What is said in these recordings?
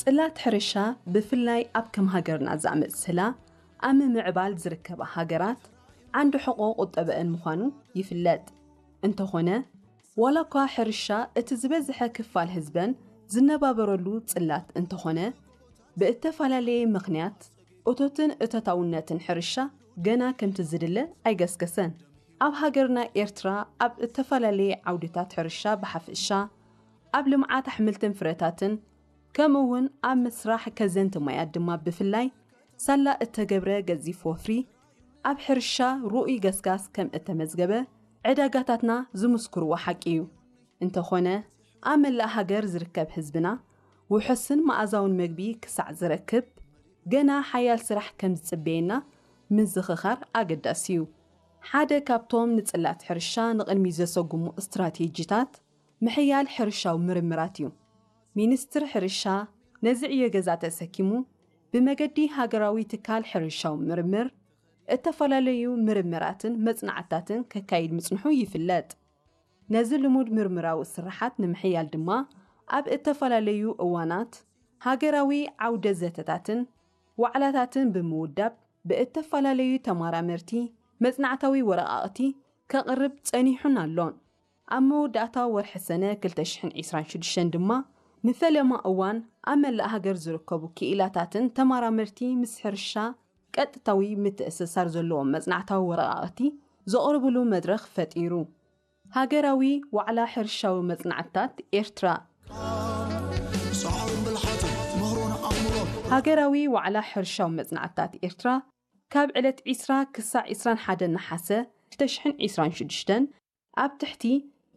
ጽላት ሕርሻ ብፍላይ ኣብ ከም ሃገርና ዝኣመሰላ ኣብ ምምዕባል ዝርከባ ሃገራት ዓንዲ ሕቖ ቁጠበአን ምዃኑ ይፍለጥ። እንተኾነ፣ ዋላ እኳ ሕርሻ እቲ ዝበዝሐ ክፋል ህዝበን ዝነባበረሉ ጽላት እንተኾነ፣ ብእተፈላለየ ምኽንያት እቶትን እቶታውነትን ሕርሻ ገና ከምቲ ዝድለ ኣይገስገሰን። ኣብ ሃገርና ኤርትራ ኣብ እተፈላለየ ዓውድታት ሕርሻ ብሓፈሻ፣ ኣብ ልምዓት ኣሕምልትን ፍረታትን፣ ከምኡ እውን ኣብ ምስራሕ ከዘንቲ ማያት ድማ ብፍላይ ሳላ እተገብረ ገዚፍ ወፍሪ ኣብ ሕርሻ ርኡይ ገስጋስ ከም እተመዝገበ ዕዳጋታትና ዝምስክርዎ ሓቂ እዩ። እንተኾነ፣ ኣብ መላእ ሃገር ዝርከብ ህዝብና ውሑስን መኣዛውን መግቢ ክሳዕ ዝረክብ ገና ሓያል ስራሕ ከም ዝጽበየና ምዝኽኻር ኣገዳሲ እዩ። ሓደ ካብቶም ንጽላት ሕርሻ ንቕድሚት ዘሰጉሙ ስትራቴጂታት ምሕያል ሕርሻዊ ምርምራት እዩ። ሚኒስትር ሕርሻ ነዚ ዕዮ ገዛ ተሰኪሙ ብመገዲ ሃገራዊ ትካል ሕርሻዊ ምርምር እተፈላለዩ ምርምራትን መጽናዕታትን ከካይድ ምጽንሑ ይፍለጥ። ነዚ ልሙድ ምርምራዊ ስርሓት ንምሕያል ድማ ኣብ እተፈላለዩ እዋናት ሃገራዊ ዓውደ ዘተታትን ዋዕላታትን ብምውዳብ ብእተፈላለዩ ተመራመርቲ መጽናዕታዊ ወረቓቕቲ ከቕርብ ጸኒሑን ኣሎን። ኣብ መወዳእታ ወርሒ ሰነ ክልተ ሽሕን ዕስራን ሽዱሽተን ድማ ንፈለማ እዋን ኣብ መላእ ሃገር ዝርከቡ ክኢላታትን ተመራመርቲ ምስ ሕርሻ ቀጥታዊ ምትእስሳር ዘለዎም መጽናዕታዊ ወረቓቕቲ ዘቕርብሉ መድረኽ ፈጢሩ። ሃገራዊ ዋዕላ ሕርሻዊ መጽናዕትታት ኤርትራ። ሃገራዊ ዋዕላ ሕርሻዊ መጽናዕትታት ኤርትራ ካብ ዕለት ዕስራ ክሳዕ ዕስራን ሓደን ነሓሰ ክልተ ሽሕን ዕስራን ሽዱሽተን ኣብ ትሕቲ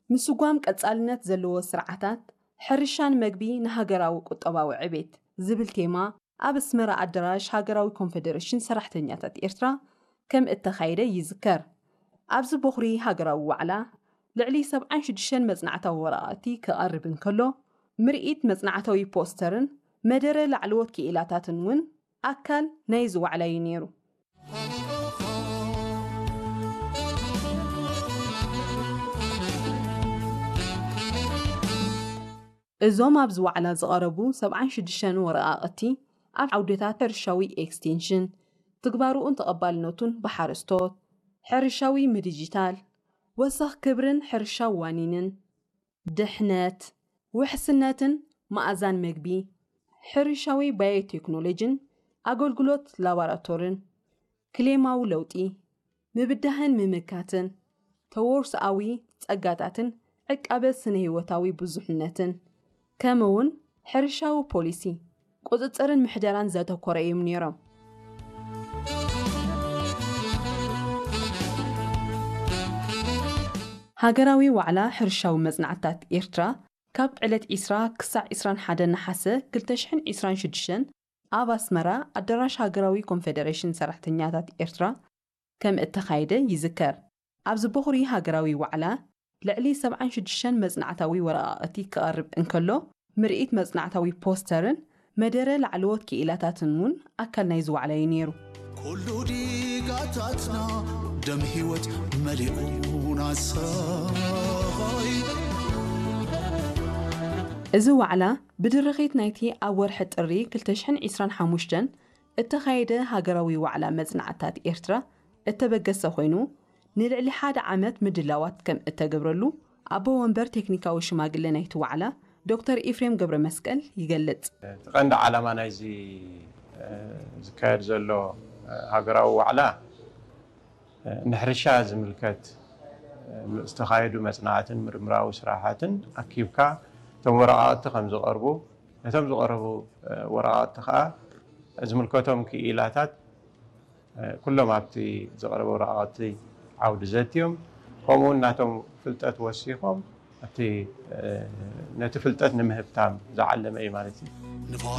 ምስጓም ቀጻልነት ዘለዎ ስርዓታት ሕርሻን መግቢ ንሃገራዊ ቁጠባዊ ዕቤት ዝብል ቴማ ኣብ ኣስመራ ኣደራሽ ሃገራዊ ኮንፈደሬሽን ሰራሕተኛታት ኤርትራ ከም እተኻየደ ይዝከር። ኣብዚ ቦኽሪ ሃገራዊ ዋዕላ ልዕሊ ሰብዓን ሽዱሽተን መጽናዕታዊ ወረቓቕቲ ክቐርብ እንከሎ፣ ምርኢት መጽናዕታዊ ፖስተርን መደረ ላዕለዎት ክኢላታትን እውን ኣካል ናይዚ ዋዕላ እዩ ነይሩ። እዞም ኣብዚ ዋዕላ ዝቐረቡ ሰብዓን ሽዱሽተን ወረቓቕቲ ኣብ ዓውድታት ሕርሻዊ ኤክስቴንሽን፣ ትግባርኡን ተቐባልነቱን ብሓረስቶት፣ ሕርሻዊ ምድጅታል፣ ወሰኽ ክብርን ሕርሻዊ ዋኒንን፣ ድሕነት፣ ውሕስነትን መኣዛን መግቢ፣ ሕርሻዊ ባዮቴክኖሎጂን ኣገልግሎት ላቦራቶርን፣ ክሌማዊ ለውጢ፣ ምብዳህን ምምካትን፣ ተወርሶኣዊ ጸጋታትን ዕቃበ ስነ-ህይወታዊ ብዙሕነትን፣ ከምኡውን ሕርሻዊ ፖሊሲ፣ ቁጽጽርን ምሕደራን ዘተኮረ እዮም ነይሮም። ሃገራዊ ዋዕላ ሕርሻዊ መጽናዕትታት ኤርትራ ካብ ዕለት ዕስራ ክሳዕ ዕስራን ሓደን ነሓሰ ክልተ ሽሕን ዕስራን ሽዱሽተን ኣብ ኣስመራ ኣደራሽ ሃገራዊ ኮንፈደሬሽን ሰራሕተኛታት ኤርትራ ከም እተኻየደ ይዝከር። ኣብዚ ቦኽሪ ሃገራዊ ዋዕላ ልዕሊ ሰብዓን ሽዱሽተን መጽናዕታዊ ወረቓቕቲ ክቐርብ እንከሎ፣ ምርኢት መጽናዕታዊ ፖስተርን መደረ ላዕለዎት ክኢላታትን እውን ኣካል ናይዚ ዋዕላ እዩ ነይሩ። ኩሉ ዲጋታትና ደም ህይወት መሊኡና ሰይ። እዚ ዋዕላ ብድርኺት ናይቲ ኣብ ወርሒ ጥሪ ክልተ ሽሕን ዕስራን ሓሙሽተን እተኻየደ ሃገራዊ ዋዕላ መጽናዕትታት ኤርትራ እተበገሰ ኮይኑ፣ ንልዕሊ ሓደ ዓመት ምድላዋት ከም እተገብረሉ ኣቦ ወንበር ቴክኒካዊ ሽማግለ ናይቲ ዋዕላ ዶክተር ኤፍሬም ገብረመስቀል ይገልጽ። እቲ ቀንዲ ዓላማ ናይዚ፣ እ፣ ዝካየድ ዘሎ፣ እ፣ ሃገራዊ ዋዕላ፣ እ፣ ንሕርሻ ዝምልከት፣ እ፣ ዝተኻየዱ መጽናዕትን ምርምራዊ ስራሓትን ኣኪብካ እቶም ወረቓቕቲ ከም ዝቐርቡ፣ ነቶም ዝቐረቡ፣ እ፣ ወረቓቕቲ ከኣ ዝምልከቶም ክኢላታት፣ እ፣ ኩሎም ኣብቲ ዝቐረበ ወረቓቕቲ ዓውዲ ዘትዮም፣ ከምኡውን ናቶም ፍልጠት ወሲኾም ኣብቲ፣ እ፣ ነቲ ፍልጠት ንምህብታም ዝዓለመ እዩ ማለት እዩ። ንፋስ